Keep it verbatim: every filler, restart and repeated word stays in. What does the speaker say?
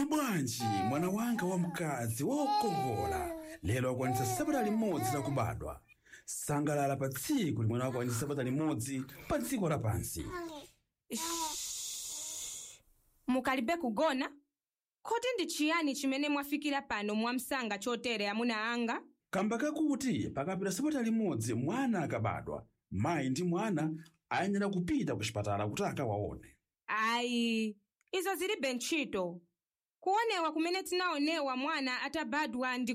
Uli bwanji mwana wanga wamkazi wokongola lero akwanitsa sabata limodzi lakubadwa. Sangalala pa tsiku limene akwanitsa sabata limodzi pa dziko lapansi. Mukalibe kugona? Kodi ndi chiyani chimene mwafikira pano mwamsanga chotere, amuna anga? Kamba kakuti pakapita sabata limodzi mwana akabadwa, mayi ndi mwana ayenera kupita ku chipatala kuti akawaone. Ayi, izo zilibe ntchito. Kuonewa kumene tinaonewa mwana atabadwa ndi